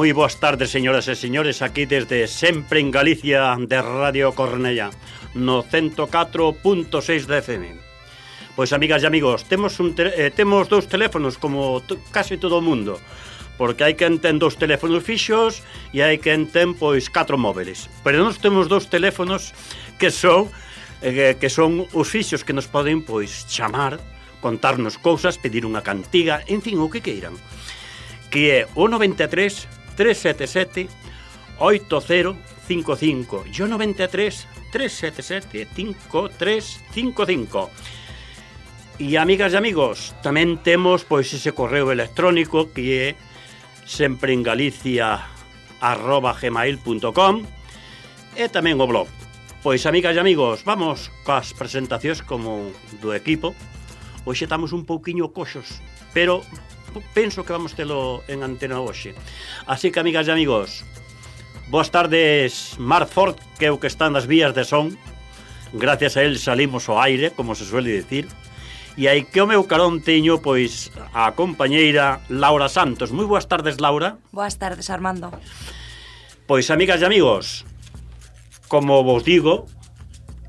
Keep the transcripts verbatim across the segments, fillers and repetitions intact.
Moi boas tardes, señoras e señores, aquí desde Sempre en Galicia de Radio Cornellá, no ciento catro punto seis de F M. Pois, amigas e amigos, temos, un eh, temos dous teléfonos como casi todo o mundo, porque hai quen ten dous teléfonos fixos e hai quen ten, pois, catro móviles. Pero nós temos dous teléfonos que son, eh, que son os fixos que nos poden, pois, chamar, contarnos cousas, pedir unha cantiga, en fin, o que queiran. Que é o noventa e tres, tres sete sete, oito cero cinco cinco e o noventa e tres, tres sete sete, cinco tres cinco cinco. E, amigas e amigos, tamén temos, pois, ese correo electrónico que é sempreengalicia arroba gmail punto com e tamén o blog. Pois, amigas e amigos, vamos coas presentacións como do equipo. Hoxe estamos un pouquiño coxos, pero penso que vamos telo en antena hoxe. Así que, amigas e amigos, boas tardes, Marc Fort, que é o que está nas vías de son. Gracias a él salimos ao aire, como se suele decir. E aí que o meu carón teño, pois, a compañeira Laura Santos. Moi boas tardes, Laura. Boas tardes, Armando. Pois, amigas e amigos, como vos digo,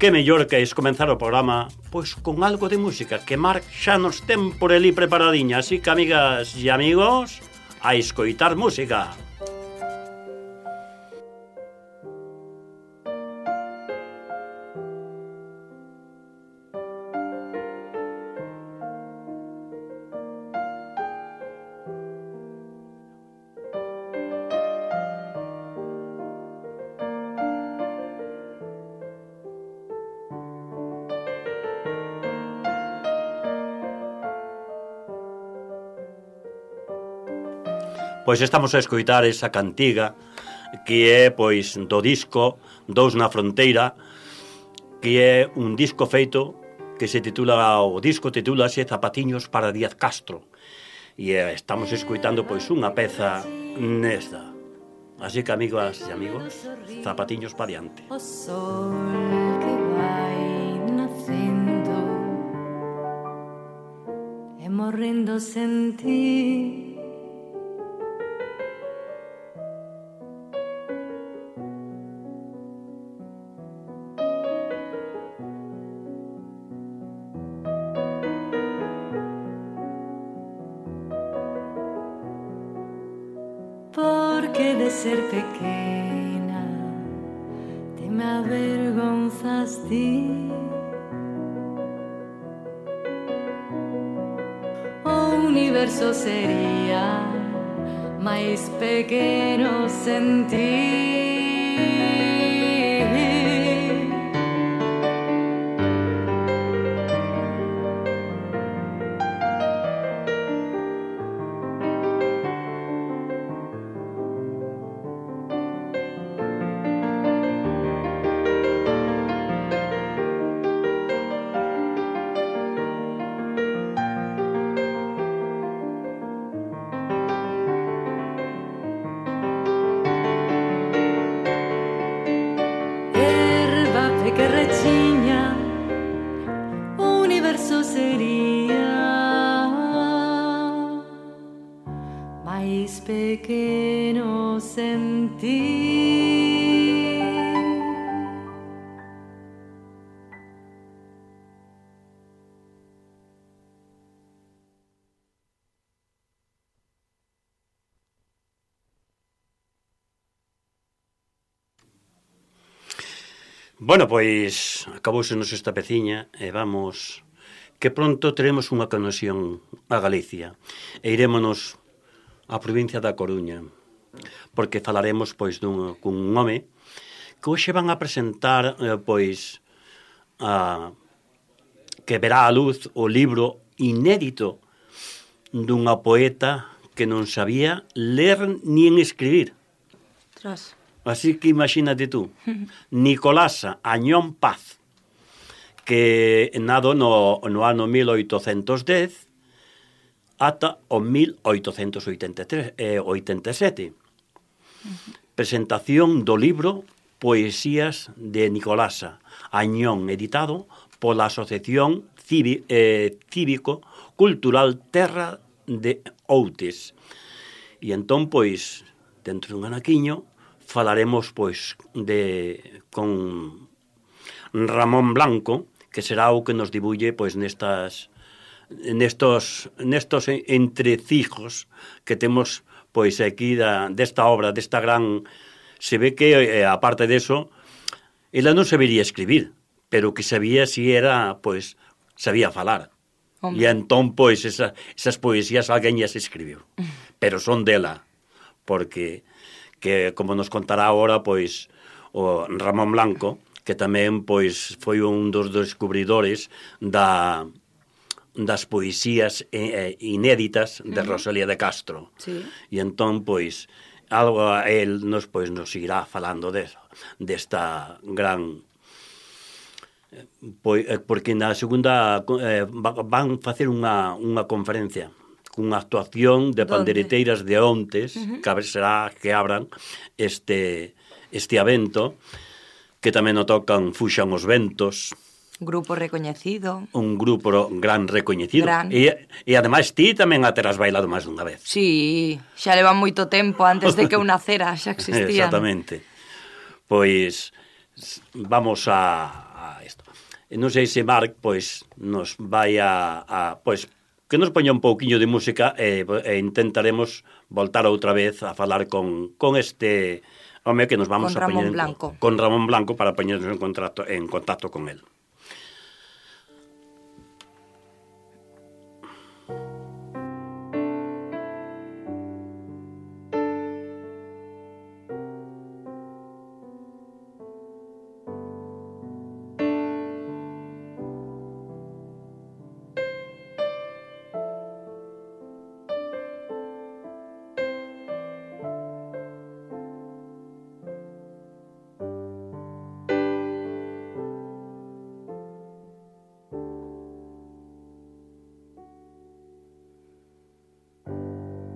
que mellor que es comenzar o programa pois con algo de música, que Marc xa nos ten por ali preparadiña. Así que, amigas e amigos, a escoitar música. Pois estamos a escoitar esa cantiga que é, pois, do disco Dous na Fronteira, que é un disco feito que se titula, o disco titúlase Zapatiños para Díaz Castro, e eh, estamos escoitando, pois, unha peza nesta. Así que, amigas e amigos, zapatiños pa diante. O sol que vai nacendo e morrendo sen ti, porque de ser pequena te me avergonzas ti. O universo sería máis pequeno sen ti. Que rechiña, o universo sería máis pequeno sen ti. Bueno, pois acabousenos esta peciña e vamos, que pronto teremos unha conexión a Galicia e irémonos á provincia da Coruña, porque falaremos, pois, dun, cun home que hoxe van a presentar, eh, pois, a, que verá a luz o libro inédito dunha poeta que non sabía ler nin escribir. Tras. Así que imagínate tú, Nicolasa Añón Paz, que nado no, no ano mil oitocentos dez ata o mil oitocentos oitenta e tres, eh, oitenta e sete. Uh-huh. Presentación do libro Poesías de Nicolasa Añón, editado pola Asociación Cívi, eh, Cívico Cultural Terra de Outes. E entón, pois, dentro dun anaquiño, falaremos, pois, de con Ramón Blanco, que será o que nos dibulle, pois, nestas nestos nestos entrecijos que temos, pois, aquí da, desta obra, desta gran... Se ve que, eh, aparte deso, ela non sabería escribir, pero que sabía si era, pois, sabía falar. Hombre. E entón, pois, esa, esas poesías alguén as escribiu. Pero son dela, porque, que, como nos contará agora, pois, o Ramón Blanco, que tamén, pois, foi un dos descubridores da... das poesías eh, inéditas de Rosalía de Castro. Sí. E entón, pois, algo a él nos, pois, nos irá falando de, desta gran... Pois, porque na segunda eh, van facer unha, unha conferencia cunha actuación de pandereteiras de Ontes, uh-huh. que a ver será que abran este, este evento, que tamén o tocan Fuxan os Ventos, grupo recoñecido. Un grupo gran recoñecido. Gran. E, e ademais ti tamén a terás bailado máis dunha vez. Sí, xa leva moito tempo antes de que eu nacera, xa existían. Exactamente. Pois vamos a, a isto. Non sei se Marc, pois, nos vai a, a pois, que nos poña un pouquiño de música e, e intentaremos voltar outra vez a falar con, con este home que nos vamos con a poñer Ramón Blanco. Con Ramón Blanco para poñernos en contacto, en contacto con él.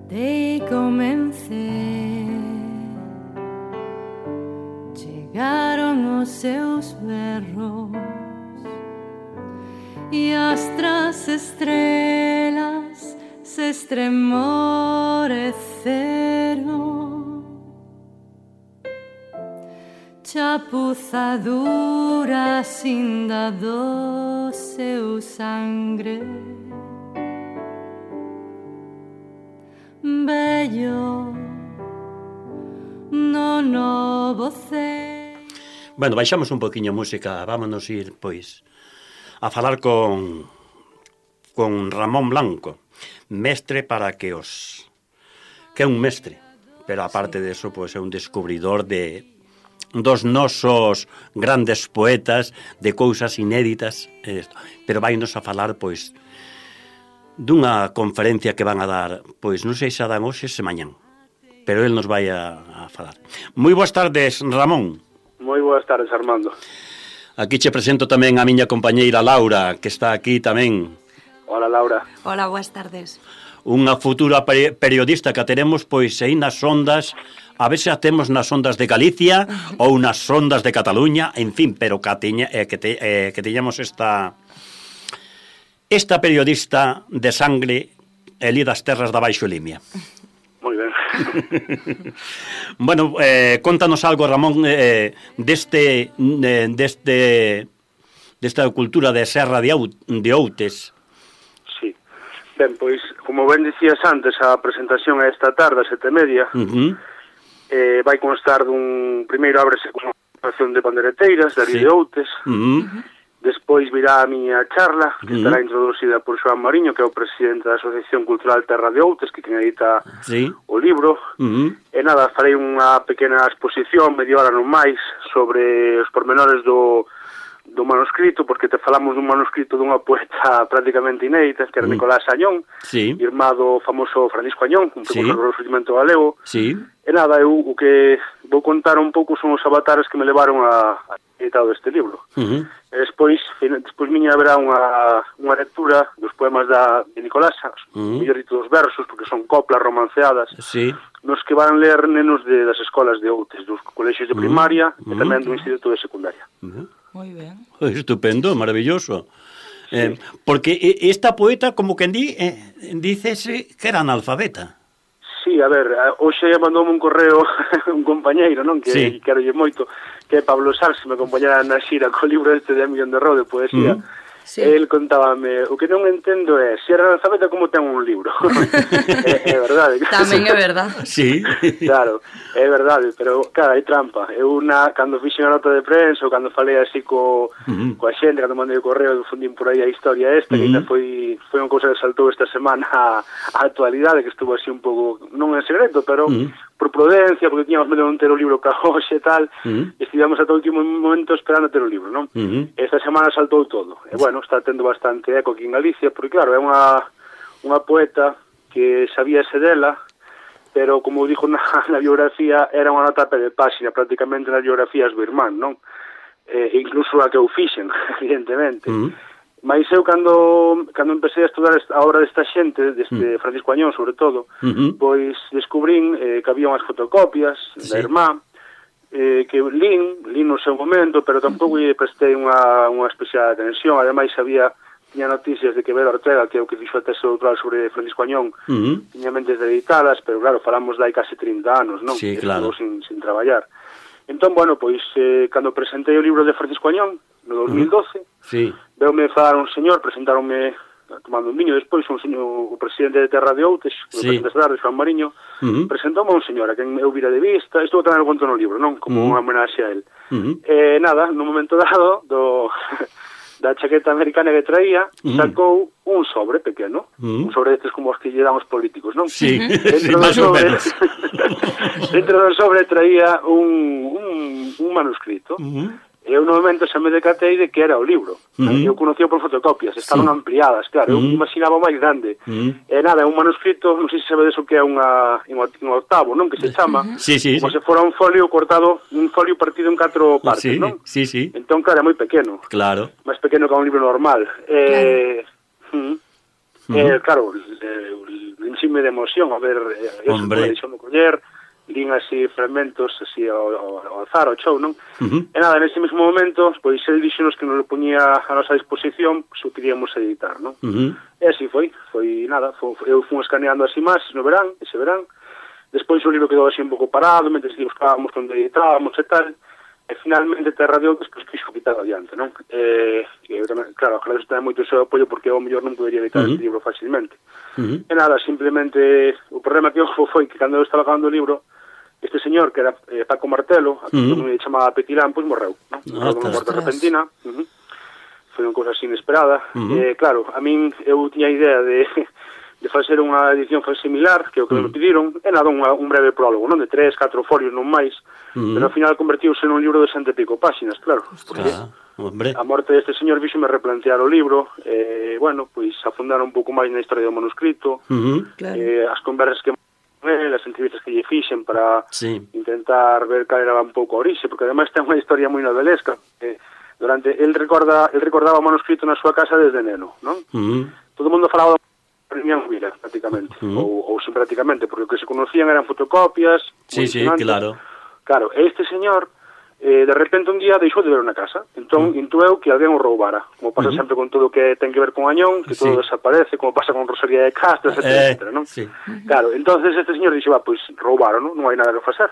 Dei comecei, chegaron os seus berros e as tras estrelas se estremoreceron. Chapuza dura cinda do seu sangre, bello no novo ceo. Bueno, baixamos un poquinho a música, vámonos ir, pois, a falar con con Ramón Blanco, mestre para que os... que é un mestre, pero aparte de eso, pois, é un descubridor de dos nosos grandes poetas, de cousas inéditas, pero vainos a falar, pois, dunha conferencia que van a dar, pois non sei se a dan hoxe se mañán, pero el nos vai a, a falar. Moi boas tardes, Ramón. Moi boas tardes, Armando. Aquí che presento tamén a miña compañeira Laura, que está aquí tamén. Hola, Laura. Hola, boas tardes. Unha futura periodista que teremos, pois, aí nas ondas, a ver se a temos nas ondas de Galicia ou nas ondas de Cataluña, en fin, pero que, teña, eh, que, te, eh, que teñamos esta... Esta periodista de sangre elí das terras da Baixo Limia. Moi ben. Bueno, eh, contanos algo, Ramón, eh, deste, eh, deste, desta cultura de Serra de, Out, de Outes. Sí. Ben, pois, como ben dicías antes, a presentación é esta tarde, a sete e media, Uh-huh. eh, vai constar dun... Primeiro ábrese con unha presentación de pandereteiras, de Sí. de Outes. Uh-huh. Despois virá a miña charla, que Uh-huh. estará introducida por Xoán Mariño, que é o presidente da Asociación Cultural Terra de Outes, que quen edita Sí. o libro. Uh-huh. E nada, farei unha pequena exposición, media hora non máis, sobre os pormenores do, do manuscrito, porque te falamos dun manuscrito dunha poeta prácticamente inédita, que era Uh-huh. Nicolás Añón, Sí. irmá do famoso Francisco Añón, un Sí. precursor do surgimento galego. Sí. E nada, eu o que vou contar un pouco son os avatares que me levaron a, a editado este libro. Uh-huh. E despois, despois miña haberá unha, unha lectura dos poemas da, de Nicolás, Uh-huh. mellor dito dos versos, porque son coplas romanceadas, Sí. nos que van ler nenos de, das escolas de Outes, dos colexios de primaria uh-huh. e tamén do instituto de secundaria. Uh-huh. Moi ben. Estupendo, maravilloso. Sí. Eh, porque esta poeta, como que di, eh, dícese que era analfabeta. Sí, a ver, hoxe mandoume un correo un compañeiro, non, que sí. quero lle moito, que é Pablo Sars, me acompañara na xira co libro este de Millón de Rode, poesía. Uh -huh. Sí. El contábame, o que non entendo é se era analfabeta como ten un libro. é, é verdade. Tamén é verdade. Sí. Claro, é verdade, pero claro, hai trampa. Eu na, cando fixe a nota de prensa ou cando falei así co, uh -huh. coa xente, cando mandei o correo, difundín por aí a historia esta, uh -huh. que ainda foi, foi unha cousa que saltou esta semana a, a actualidade, que estuvo así un pouco, non en secreto, pero uh -huh. por prudencia, porque tiñamos medo de non ter o libro ca hoxe e tal, uh -huh. estivemos ata o último momento esperando ter o libro, non? Uh -huh. Esta semana saltou todo. E bueno, está tendo bastante eco aquí en Galicia, porque claro, é unha, unha poeta que sabíase dela, pero como dixo na, na biografía, era unha nota de páxina, prácticamente nas biografías do irmán, non? Eh, incluso a que eu fixen, evidentemente. Uh -huh. Mas eu, cando, cando empecé a estudar a obra desta xente, deste uh -huh. Francisco Añón, sobre todo, uh -huh. pois descubrín eh, que había unhas fotocopias sí. da irmán, eh, que lín, lín no seu momento, pero tampouco lle prestei unha, unha especial atención. Ademais, había tiña noticias de que Vera Ortega, que é o que fixo a tese doutoral sobre Francisco Añón, uh -huh. tiña mentes editadas, pero claro, falamos de hai casi trinta anos, non? Sí, claro. Sin, sin traballar. Entón, bueno, pois, eh, cando presentei o libro de Francisco Añón, no dos mil doce, uh -huh. sí. veume falar un señor, presentaronme tomando un viño despois, un señor, o presidente de Terra de Outes, sí. o presidente de Tarde, Joan Mariño, uh -huh. presentoume a un señor a quen eu vira de vista, isto tamén o conto no libro, non? Como uh -huh. unha homenaxe a él. Uh -huh. eh, nada, no momento dado, do... da chaqueta americana que traía, mm. sacou un sobre pequeno, mm. un sobre destes como os que lle dan os políticos, non? Sí, sí, do máis ou sobre, menos. dentro do sobre traía un, un, un manuscrito, mm. e eu no momento xa me decatei de que era o libro. Mm. Eu conocía por fotocopias, estaban sí. ampliadas, claro, mm. eu imaginaba máis grande. Mm. E nada, é un manuscrito, non sei se sabedes o que é unha, un octavo, non? Que se chama, sí, sí, como sí. se fora un folio cortado, un folio partido en catro partes, sí, non? Sí, sí. Entón, claro, é moi pequeno. Claro. Máis pequeno que un libro normal. Eh, claro. Mm, mm. eh, claro, eh, enxime de emoción a ver, eh, eso, Hombre. Deixou-me coller, lín así fragmentos así ao, ao, ao azar, ao chou, non? Uh -huh. E nada, nese mesmo momento, pois el dixonos que nos lo poñía a nosa disposición, pois o queríamos editar, non? Uh -huh. E así foi, foi nada, foi, eu fui escaneando así máis no verán, ese verán, despois o libro quedou así un pouco parado, mentre que buscábamos onde editábamos e tal, e finalmente Terra de Outes, pois quixo quitar adiante, non? E, e eu tamén, claro, claro, isto ten moito o seu apoio porque eu mellor non podería editar uh -huh. este libro facilmente. Uh -huh. E nada, simplemente, o problema que houve foi que cando eu estaba acabando o libro, este señor, que era eh, Paco Martelo, a que uh -huh. me chamaba Petilán, pois morreu, non? Morreu unha morte repentina. Uh -huh. Foi unha cousa así inesperada. Uh -huh. eh, claro, a min eu tiña idea de, de facer unha edición similar, que é o que uh -huh. me pediron, e nada, unha, un breve prólogo, non? De tres, catro folios, non máis, uh -huh. pero ao final convertiuse nun libro de cento e pico páxinas, claro. Porque ah, hombre. A morte deste señor fíxome replantear o libro, e, eh, bueno, pois afundar un pouco máis na historia do manuscrito, uh -huh. claro. eh, as conversas que as entrevistas que lle fixen para sí. intentar ver cal era un pouco a orixe, porque ademais ten unha historia moi novelesca. Eh, durante el recorda el recordaba o manuscrito na súa casa desde neno, non? Uh -huh. Todo o mundo falaba de Miñán Huila, prácticamente, uh -huh. ou, ou sin prácticamente, porque o que se conocían eran fotocopias. Sí, sí, claro. Claro, este señor eh, de repente un día deixou de ver unha casa, entón uh -huh. intueu que alguén o roubara, como pasa uh -huh. sempre con todo o que ten que ver con Añón, que todo sí. desaparece, como pasa con Rosalía de Castro, etcétera, eh, etcétera, non? Sí. Claro, entonces este señor dixo, va, pois roubaron, non, non hai nada que facer.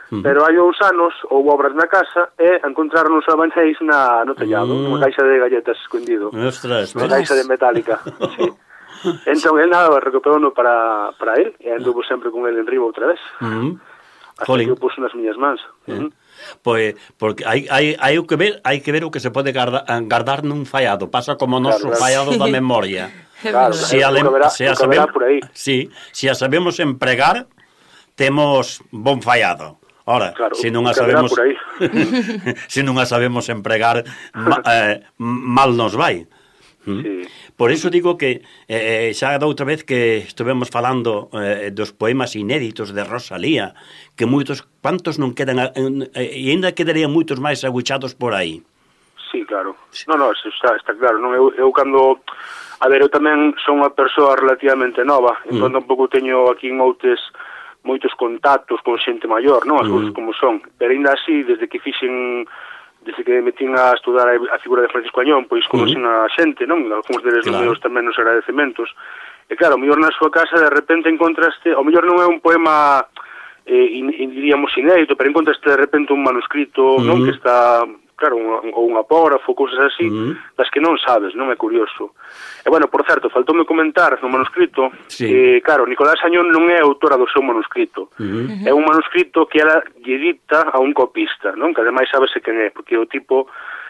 Uh -huh. Pero hai uns anos houve obras na casa e encontraron os abanéis na, no tellado, uh -huh. unha caixa de galletas escondido. Ostras, unha caixa de metálica, sí. Entón, el nada, recuperouno para, para él, e anduvo sempre con él en riba outra vez. Uh -huh. Hasta Jolín. Que eu puso nas miñas mans. Uh -huh. Pois, porque hai, hai, hai que ver hai que ver o que se pode guarda, guardar nun fallado. Pasa como o noso claro, claro. fallado da memoria. Claro, se a, verá, se a sabemos, por aí. Sí, se a sabemos empregar, temos bon fallado. Ora, claro, se non a sabemos se non a sabemos empregar, ma, eh, mal nos vai. ¿Mm? Sí. Por iso digo que eh, xa da outra vez que estivemos falando eh, dos poemas inéditos de Rosalía, que moitos, cuantos non quedan, eh, e ainda quedarían moitos máis aguchados por aí. Sí, claro. No, no, está, está claro. Non, eu, eu cando... A ver, eu tamén son unha persoa relativamente nova, entón mm. tampouco teño aquí en Outes moitos contactos con xente maior, non? As mm. cousas como son. Pero ainda así, desde que fixen... desde que me metín a estudar a figura de Francisco Añón, pois conocen uh -huh. a xente, non? Algúns deles claro. Meus tamén nos agradecementos. E claro, o mellor na súa casa de repente encontraste, o mellor non é un poema eh, in, in, diríamos inédito, pero encontraste de repente un manuscrito, uh-huh. non, que está, claro, un, ou un apógrafo, cousas así, uh-huh. das que non sabes, non é curioso. E bueno, por certo, faltoume comentar no manuscrito sí. que, claro, Nicolás Añón non é autora do seu manuscrito. Uh-huh. É un manuscrito que ela lle dicta a un copista, non? Que ademais sabese quen é, porque o tipo...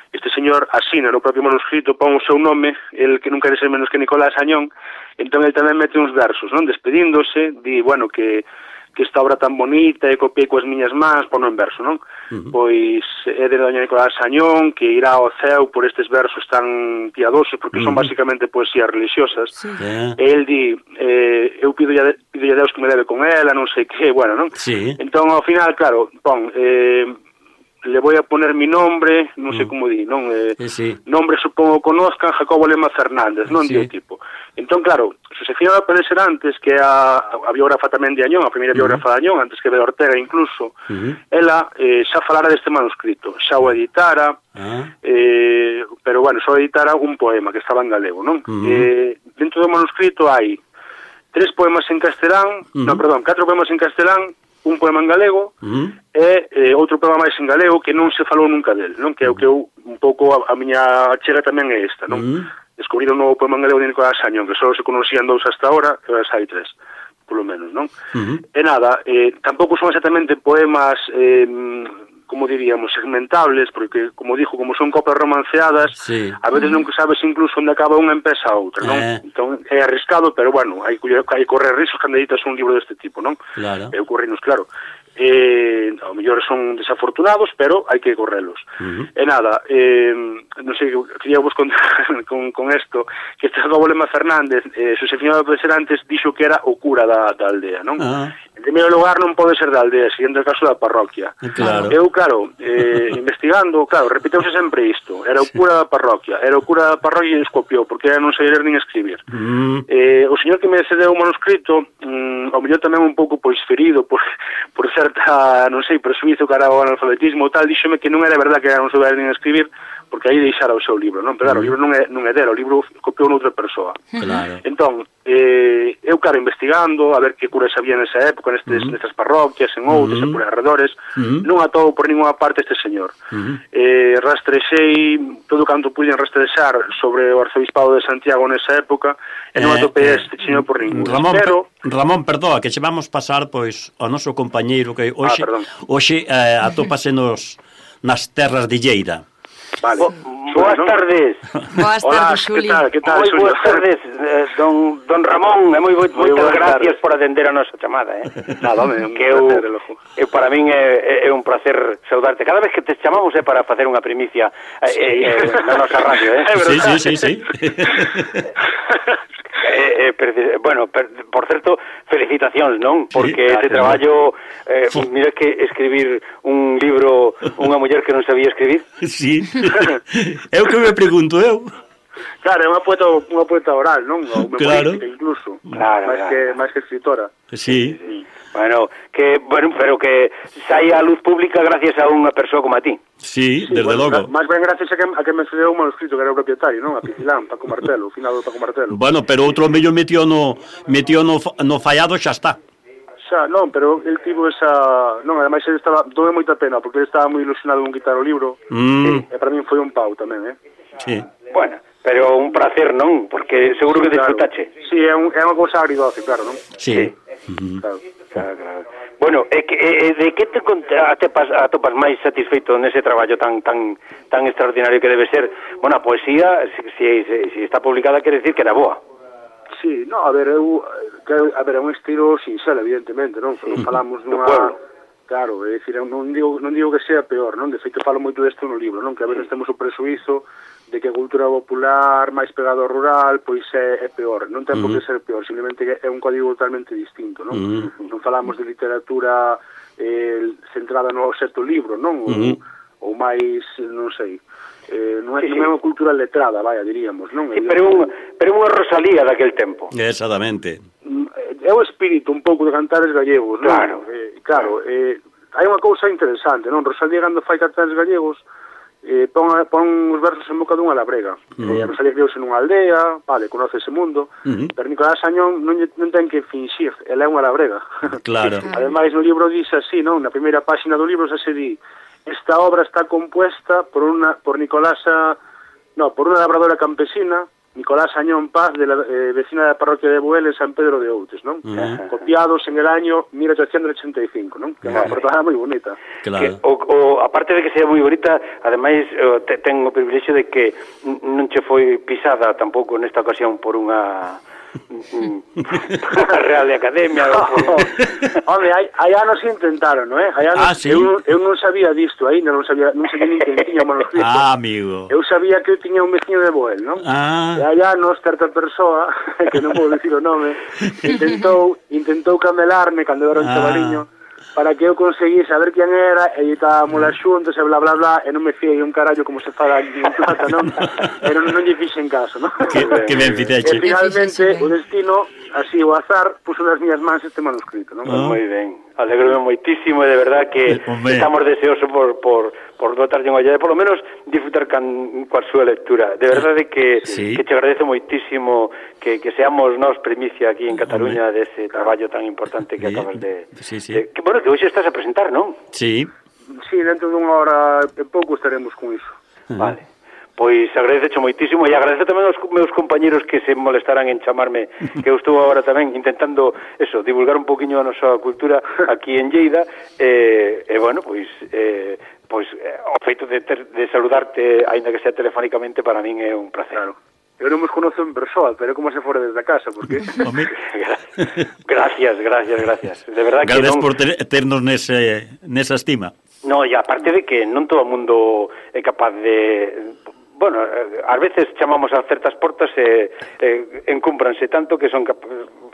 Este señor asina no propio manuscrito, pon o seu nome, el que non quere ser menos que Nicolás Añón, entón el tamén mete uns versos, non? Despedíndose, di, bueno, que, que esta obra tan bonita e copiei coas miñas mans, pon en verso, non? Uh-huh. Pois é de doña Nicolás Añón, que irá ao ceo por estes versos tan piadosos, porque uh-huh. son basicamente poesías religiosas. Sí. Yeah. E el di, eh, eu pido a Deus que me leve con ela, non sei que, bueno, non? Sí. Entón, ao final, claro, pon... Eh, le voy a poner mi nombre, non sei mm. como di, non? Eh, sí, sí. Nombre supongo conozcan, Jacobo Lema Fernández, non? Sí. Di o tipo. Entón, claro, Josefina López de Serantes, que é a, a biógrafa tamén de Añón, a primeira uh-huh. biógrafa de Añón, antes que de Ortega incluso, uh-huh. ela eh, xa falara deste manuscrito, xa o editara, uh-huh. eh, pero, bueno, só editara un poema que estaba en galego, non? Uh-huh. Eh, dentro do manuscrito hai tres poemas en castelán, uh-huh. non, perdón, catro poemas en castelán, un poema en galego uh-huh. e eh, outro poema máis en galego que non se falou nunca del, non? Que é o que eu, un pouco, a, a miña chega tamén é esta, non? Uh-huh. Descubrir un novo poema en galego de Nicolás Añón, que só se conocían dous hasta ahora, que ahora hai tres, polo menos, non? Uh-huh. E nada, eh, tampouco son exactamente poemas... Eh, como diríamos, segmentables, porque, como dixo, como son copas romanceadas, sí. a veces non sabes incluso onde acaba unha e empeza a outra, non? Eh. Entón, é arriscado, pero, bueno, hai, hai correr riscos cando editas un libro deste tipo, non? Claro. E ocurrinos, claro. Eh, ao mellor son desafortunados, pero hai que correlos. Uh-huh. E nada, eh, non sei, quería vos contar con, con esto, que este Jacobo Lema Fernández, eh, Josefina López de Serantes, dixo que era o cura da, da aldea, non? Uh-huh. En primeiro lugar, non pode ser da aldea, seguinte o caso da parroquia. Claro. Eu, claro, eh, investigando, claro, repiteuse sempre isto. Era o cura da parroquia, era o cura da parroquia e escopiou, porque non sei ler nin escribir. Mm. Eh, o señor que me cedeu o manuscrito, mm, ao mellor tamén un pouco pois ferido por, por certa, non sei, presuizo cara ao analfabetismo ou tal, díxome que non era verdad que non souber nin escribir, porque aí deixara o seu libro, non? Pero claro, mm. o libro non é, non é dela, o libro copiou noutra persoa. Claro. Entón, eh, eu, claro, investigando, a ver que curas había nesa época, nestes, mm. nestas parroquias, en outras, mm. e por arredores, mm. non atoubo por ninguna parte este señor. Mm. Eh, rastrexei todo canto puiden rastrexar sobre o arzobispado de Santiago nesa época, e non atopei eh, este señor por ningún. Ramón, pero... Ramón, perdoa, que che vamos pasar, pois, ao noso compañeiro que hoxe, ah, hoxe eh, atópase nos, nas terras de Lleida. Vale. Bo, boas ¿no? tardes. Boas tardes, Xuli. Que tal, que tal, moi boas tardes, eh, don, don Ramón, e moi moitas gracias tardes. Por atender a nosa chamada, eh. Nada, home, que eu, eu para min é, é un placer saudarte. Cada vez que te chamamos é para facer unha primicia eh, sí. eh, na nosa radio, eh. Sí, sí, sí, sí. Eh, eh, bueno, per, por certo, felicitacións, non? Porque sí, este traballo, eh, mira que escribir un libro unha muller que non sabía escribir. Sí. Eu que me pregunto eu. Claro, é unha poeta, unha poeta oral, non? Ou claro. Política, incluso. Claro, máis claro. que máis que escritora. Sí. sí. Bueno, que bueno, pero que saia a luz pública gracias a unha persoa como a ti. Sí, sí desde bueno, logo. Máis ben gracias a que, a que me cedeu un manuscrito que era o propietario, non? A Pitilán, Paco Martelo, o final do Paco Martelo. Bueno, pero outro mello metió no metió no, no fallado xa está. Xa, non, pero el tivo esa... Non, ademais ele estaba... Dove moita pena, porque ele estaba moi ilusionado con quitar o libro. Mm. E para min foi un pau tamén, eh? Sí. Bueno, pero un placer, non? Porque seguro que disfrutache. Claro. Sí, é, un, é unha cousa agridoce, claro, non? Sí. sí. Uh-huh. Claro. Claro, claro. Bueno, e que, e, de que te atopas, atopas máis satisfeito nese traballo tan tan tan extraordinario que debe ser? Bueno, a poesía, se si, si, si está publicada, quere decir que era boa. Sí, no, a ver, eu, que, a ver, é un estilo sinxelo, evidentemente, non? Non falamos nunha... Claro, é dicir, non digo, non digo que sea peor, non? De feito, falo moito desto no libro, non? Que a veces temos o presuizo de que a cultura popular máis pegado ao rural, pois é, é peor. Non ten por que ser peor, simplemente que é un código totalmente distinto, non? Uh-huh. Non falamos de literatura eh, centrada no certo libro, non? Ou, uh-huh. ou máis, non sei... Eh, non, é, sí, non é unha cultura letrada, vaya, diríamos, non? Sí, pero unha, pero unha Rosalía daquel tempo. Exactamente. É o espírito un pouco de cantares gallegos, non? Claro. Eh, claro, eh, hai unha cousa interesante, non? Rosalía, cando fai cantares gallegos, eh, pon, pon os versos en boca dunha labrega. Uh -huh. eh, Rosalía criouse nunha aldea, vale, conoce ese mundo, uh -huh. pero Nicolás Añón non, non ten que finxir, ela é unha labrega. Claro. Ademais, no libro dice así, non? Na primeira páxina do libro se di: esta obra está compuesta por una por Nicolás a, no, por unha labradora campesina, Nicolás Añón Paz, de la eh, vecina da parroquia de Buel en San Pedro de Outes, non? Uh -huh. Copiados en el año mil ochocientos ochenta y cinco, non? Que é unha portada moi bonita. Claro. Que, o, o, aparte de que sea moi bonita, ademais te, ten o privilexio de que non che foi pisada tampouco nesta ocasión por unha Real de Academia. No. Home, hai, hai anos intentaron, non é? Hai anos, ah, sí? eu, eu non sabía disto aí, non sabía, non sabía nin que tiña manuscrito. Ah, amigo. Eu sabía que eu tiña un veciño de Boel, non? Ah. E hai anos, certa persoa, que non podo dicir o nome, intentou, intentou camelarme cando eu era un ah. chavaliño, para que eu conseguí saber quen era, e estábamos lá xuntos, e bla, bla, bla, e non me fiei un carallo como se fala aquí en plata, non? E non, non lle fixen caso, non? Que, que ben fixeche. E finalmente, o destino, así o azar, puso nas miñas mans este manuscrito, non? Oh. Moi ben, alegrome moitísimo, e de verdad que Hombre. estamos deseosos por, por, por dotarlle unha olla, e por lo menos disfrutar can, coa súa lectura. De verdade que, sí. que te agradezo moitísimo que, que seamos nós primicia aquí en Cataluña Hombre. dese traballo tan importante que sí. acabas de... Sí, sí. De, que, bueno, que hoxe estás a presentar, non? Sí. Sí, dentro dunha hora e pouco estaremos con iso. Uh-huh. Vale. Pois agradezo moitísimo e agradezo tamén aos meus compañeros que se molestarán en chamarme, que eu estou agora tamén intentando eso, divulgar un poquinho a nosa cultura aquí en Lleida e, e bueno, pois eh, pois eh, o feito de, ter, de saludarte aínda que sea telefónicamente para min é un placer. Claro. Eu non vos conozo en persoa, pero como se fora desde a casa, porque... gracias, gracias, gracias. De verdad que Gracias non... por ter, ternos nese, nesa estima. No, e aparte de que non todo o mundo é capaz de... Bueno, ás veces chamamos a certas portas e eh, encúmpranse tanto que son cap...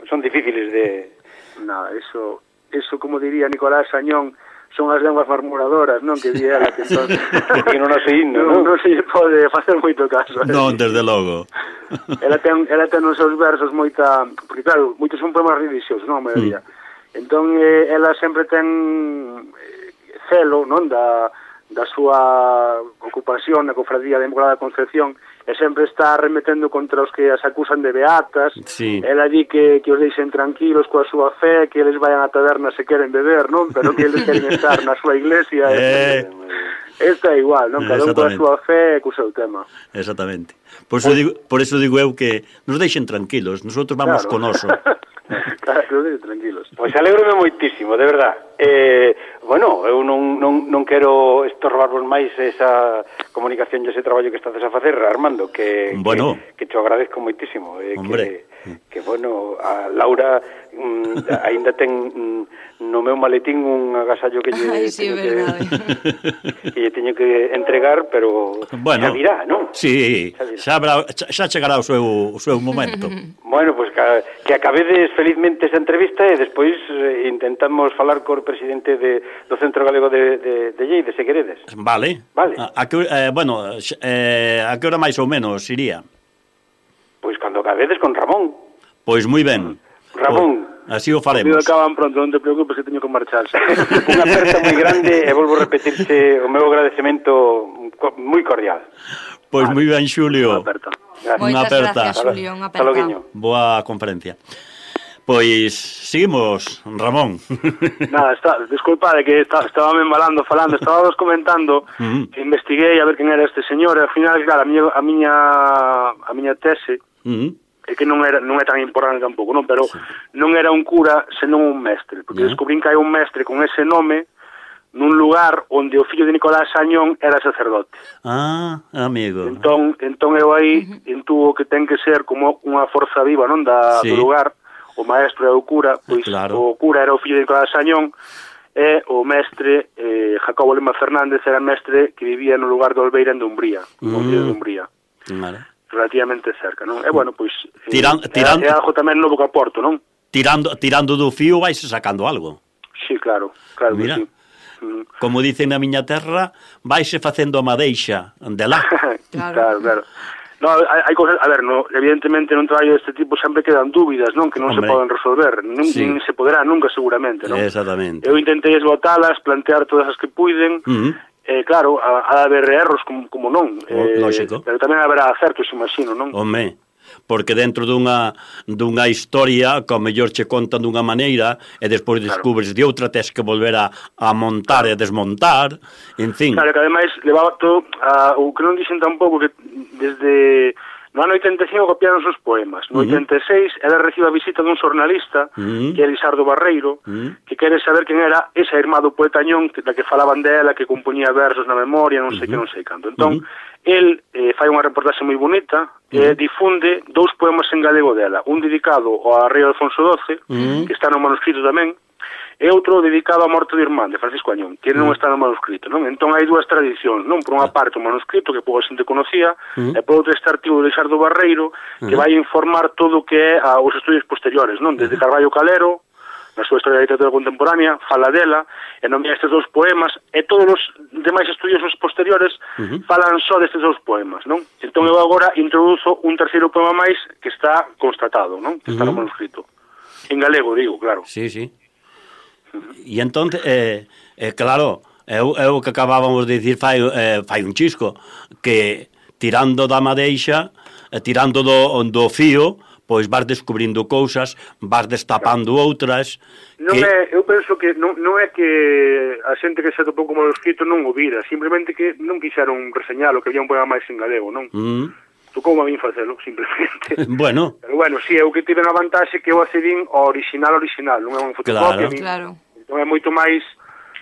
son difíciles de... No, eso, eso como diría Nicolás Añón, son as lenguas murmuradoras, non? Que di ela, que entón... que non nos himno, non? Non se pode facer moito caso. Non, desde logo. Ela ten, ela ten nos seus versos moita... Porque claro, moitos son poemas religiosos, non? A maioría. Mm. Entón, eh, ela sempre ten celo, non? Da... da súa ocupación na cofradía de Inmaculada Concepción e sempre está remetendo contra os que as acusan de beatas. Sí. Ela di que, que os deixen tranquilos coa súa fe, que eles vayan a taberna se queren beber, non? Pero que eles queren estar na súa iglesia. Eh... Esta é igual, non? Cada un coa súa fe e co seu tema. Exactamente. Por eso, digo, por eso digo eu que nos deixen tranquilos, nosotros vamos claro. con oso. Claro, tranquilos. Pois alégrome moitísimo, de verdad. Eh, bueno, eu non, non, non quero estorbarvos máis esa comunicación e ese traballo que estades a facer, Armando, que, bueno. que, que te agradezco moitísimo. Eh, que, que, bueno, a Laura mm, aínda ten mm, no meu maletín un agasallo que lle Ay, sí, teño que, que lle teño que entregar, pero bueno, xa virá, non? Sí, xa, xa, habrá, xa, xa chegará o seu, o seu momento. Bueno, pois pues, que, que acabedes felizmente esa entrevista e despois eh, intentamos falar co presidente de, do Centro Galego de, de, de Lleida, se queredes. Vale. Vale. A, a que, eh, bueno, eh, a que hora máis ou menos iría? Pois cando acabedes con Ramón. Pois moi ben. Ramón. O, así o faremos. Conmigo acaban pronto, non te preocupes que teño que marcharse. Unha aperta moi grande e volvo a repetirte o meu agradecemento moi cordial. Pois moi ben, Xulio. Unha aperta. Moitas gracias, Xulio, unha aperta. Boa conferencia. Pois seguimos, Ramón. Nada, está, disculpade que está, estaba me embalando falando, estábamos comentando, uh-huh. que investiguei a ver quen era este señor, e ao final, claro, a miña a miña a miña tese, uh-huh. é que non era non é tan importante tampouco, non, pero sí. non era un cura, senón un mestre, porque uh-huh. descubrín que hai un mestre con ese nome nun lugar onde o fillo de Nicolás Añón era sacerdote. Ah, amigo. Entón, entón eu aí uh-huh. intuo que ten que ser como unha forza viva, non, da, sí. do lugar. O maestro e o cura, pois claro. O cura era o fillo de Nicolás Añón e o mestre, eh, Jacobo Lema Fernández, era mestre que vivía no lugar de Olveira en Dumbría, no mm. de Dumbría. Vale. Relativamente cerca, non? E bueno, pois Tiran, eh, tirando, é algo tamén novo que aporto, non? Tirando, tirando do fío vais sacando algo. Sí, claro, claro. Mira, que sí. Mm. Como dicen na miña terra, vaise facendo a madeixa de lá. Claro, claro. claro. No, hai, hai cosas, a ver, no, evidentemente nun traballo deste tipo sempre quedan dúbidas, non, que non Hombre. se poden resolver, non sí. se poderá nunca seguramente, non? Exactamente. Eu intentei esgotalas, plantear todas as que puiden, uh -huh. Eh, claro, ha, ha de haber erros como, como non. Eh, Lógico. Pero tamén haberá acertos, imagino, non? Home, porque dentro dunha, dunha historia, que ao mellor che contan dunha maneira, e despois descubres claro. de outra, tes que volver a, a montar claro. e desmontar, en fin. Claro, que ademais levaba todo, a, o que non dixen tampouco, que desde... No ano oitenta e cinco copiaron os poemas. No uh -huh. oitenta e seis ela recibe a visita dun xornalista, uh -huh. que é Lisardo Barreiro, uh -huh. que quere saber quen era esa irmá do poeta Añón, que, da que falaban dela, que compoñía versos na memoria, non sei uh -huh. que, non sei canto. Entón, uh -huh. el eh, fai unha reportaxe moi bonita, e uh -huh. difunde dous poemas en galego dela. Un dedicado ao rei Alfonso doce, uh -huh. que está no manuscrito tamén, e outro dedicado á morte do irmán de Francisco Añón, que non está no manuscrito, non? Entón hai dúas tradicións, non? Por unha parte o manuscrito, que pouca xente conocía, uh -huh. e por outra este artigo de Lisardo Barreiro, que uh -huh. vai informar todo o que é a, os estudios posteriores, non? Desde Carballo Calero, na súa historia da literatura contemporánea, fala dela, e nomea estes dous poemas, e todos os demais estudiosos posteriores uh -huh. falan só destes dous poemas, non? Entón eu agora introduzo un terceiro poema máis que está constatado, non? Que está uh -huh. no manuscrito. En galego, digo, claro. Sí, sí. E entón, eh, eh, claro, é o que acabábamos de dicir fai, eh, fai un chisco, que tirando da madeixa, eh, tirando do, do fío, pois vas descubrindo cousas, vas destapando claro. outras... Non que... é, eu penso que non, non é que a xente que se atopou como manuscrito non o vira, simplemente que non quixeron reseñalo, que había un poema máis en galego, non? Mm. Tocou a min facelo, simplemente. Bueno. Pero bueno, si, sí, eu que tive na vantaxe que eu accedín ao original original, non é un fotocopia. Claro. Claro. Entón é moito máis,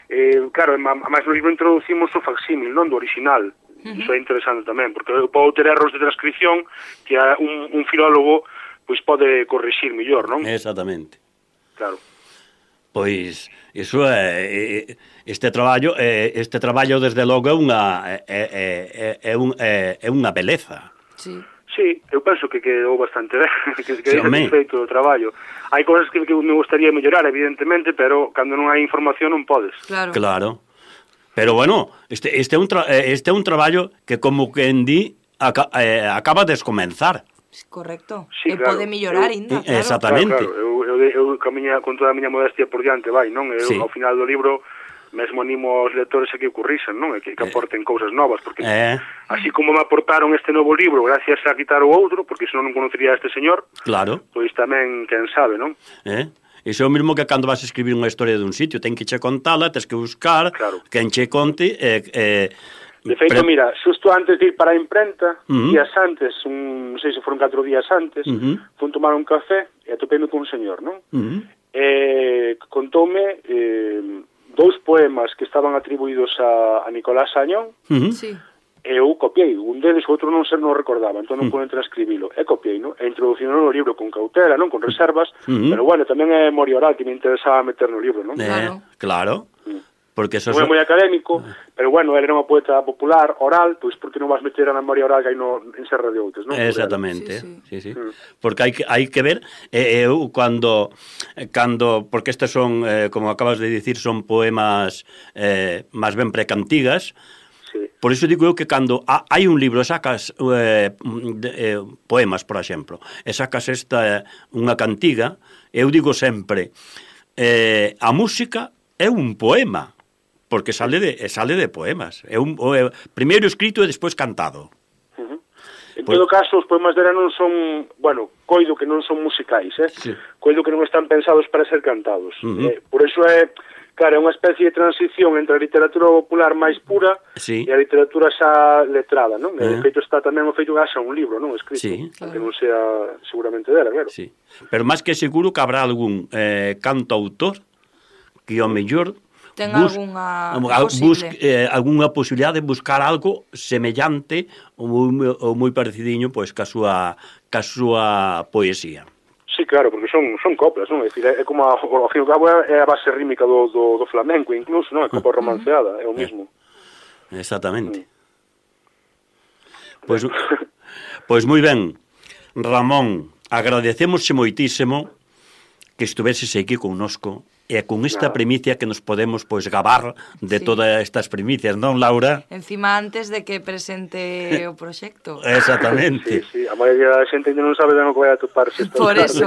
eh, claro, máis no libro introducimos o facsímil, non, do original. Uh-huh. Iso é interesante tamén, porque eu podo ter erros de transcripción que un, un filólogo pois pode corrixir mellor, non? Exactamente. Claro. Pois iso é este traballo, este traballo desde logo é unha é, é, é, un, é, é unha beleza. Sí. Sí, eu penso que quedou bastante ben, que quedou satisfeito do traballo. Hai cousas que, que me gustaría mellorar, evidentemente, pero cando non hai información non podes. Claro. Claro. Pero bueno, este, este, é un tra este é un traballo que como que en di aca eh, acaba de comenzar. Correcto. Sí, e claro. pode mellorar ainda, claro. Exactamente. Claro, claro. Eu, eu, eu camiña con toda a miña modestia por diante, vai, non? Eu, sí. Ao final do libro mesmo animo aos lectores a que o corrixan, non? E que, que aporten eh. cousas novas, porque eh. así como me aportaron este novo libro gracias a quitar o outro, porque senón non conocería a este señor, claro. Pois tamén, quen sabe, non? Eh? Iso é o mesmo que cando vas a escribir unha historia dun sitio, ten que che contala, tens que buscar, claro. Quen che conte, e... Eh, de feito, pre... mira, xusto antes de ir para a imprenta, uh -huh. días antes, un, non sei se foron catro días antes, uh -huh. fun tomar un café e atopei-me con un señor, non? Uh -huh. E contoume eh, dous poemas que estaban atribuídos a, a Nicolás Añón, uh -huh. sí. E eu copiei, un deles, o outro non se non recordaba, entón non uh -huh. poden transcribilo. E copiei, non? E introduciron no libro con cautela, non? Con reservas, uh -huh. pero bueno, tamén é memoria oral que me interesaba meter no libro, non? Eh, claro. Claro. Uh -huh. Porque eso non é moi académico, pero bueno, ele era unha poeta popular, oral, pois porque non vas meter a memoria oral que hai no, en Serra de Outes, non? Exactamente, sí, sí. sí, sí. Mm. Porque hai que, hai que ver, eh, eu cando, cando, porque estes son, eh, como acabas de dicir, son poemas eh, máis ben precantigas, sí. Por iso digo eu que cando ha, hai un libro, sacas eh, de, eh, poemas, por exemplo, e sacas esta, unha cantiga, eu digo sempre, eh, a música é un poema, porque sale de sale de poemas. É un é, primeiro escrito e despois cantado. Uh -huh. En pues, todo caso, os poemas dela non son, bueno, coido que non son musicais, eh? Sí. Coido que non están pensados para ser cantados. Uh -huh. eh, por eso é, claro, é unha especie de transición entre a literatura popular máis pura sí. e a literatura xa letrada, non? Uh -huh. De feito está tamén o feito que haxa un libro, non? Escrito, sí. Que non sea seguramente dela, claro. Sí. Pero máis que seguro que habrá algún eh, cantautor que ao mellor ten bus, algunha bus, eh, algunha posibilidade de buscar algo semellante ou moi, ou moi parecidiño pois ca súa ca súa poesía. Sí, claro, porque son son coplas, non? É dicir, é como a, ao fin e ao cabo é a base rítmica do, do, do flamenco incluso, non? É copla romanceada, é o mismo. Exactamente. Pois pois moi ben. Ramón, agradecémosche moitísimo que estuveses aquí connosco e con esta Nada. primicia que nos podemos pois gabar de Sí. todas estas primicias, non, Laura? Encima antes de que presente o proxecto. Exactamente. Sí, sí, a maioría da xente ainda non sabe de no que vai a toparse esta Por tarde. eso.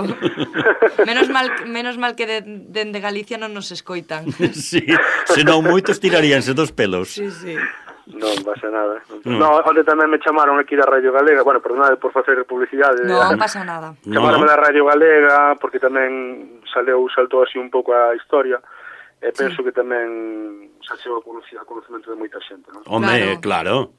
Menos mal, menos mal que de, dende Galicia non nos escoitan. Sí, senón moitos tiraríanse dos pelos. Sí, sí. Non pasa nada. Mm. No, onde tamén me chamaron aquí da Radio Galega, bueno, perdonade por facer publicidade. Non pasa nada. Chamaronme da Radio Galega porque tamén saleu, saltou así un pouco a historia e penso Sí. que tamén xa chegou a conocer- a conocemento de moita xente, non? Home, claro.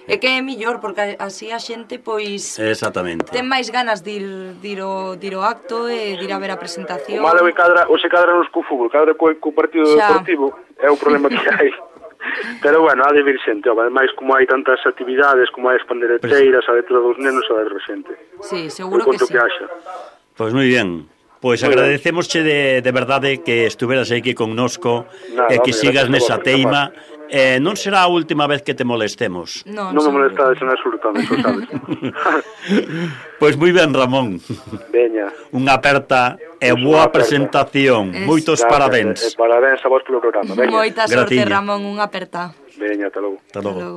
É que é millor, porque así a xente, pois, Exactamente. ten máis ganas de ir, de ir, o, de ir ao acto e de ir a ver a O presentación. malo é que cadra, o se cadra nos co fútbol, cadra co, co partido Xa. deportivo, é o problema que hai. Pero bueno, ha de vir xente, ademais como hai tantas actividades, como hai as pandereteiras, a letra dos nenos, a de xente. Sí, Por seguro que conto sí. que haxa. Pois moi ben. Pois Moi agradecemosche de, de verdade que estuveras aquí connosco Nada, e que home, sigas gracias a nesa vos, teima. Eh, non será a última vez que te molestemos. Non, Non me seguro. molestades en absolutamente, sabes. Pois moi ben, Ramón. Veña. Unha aperta e Pois boa unha aperta. presentación. Es- Moitos Gracias, parabéns. E, e parabéns a vos polo programa. Veña. Moita sorte, Gratiña. Ramón, unha aperta. Veña, ata logo. Hasta logo. Hasta logo.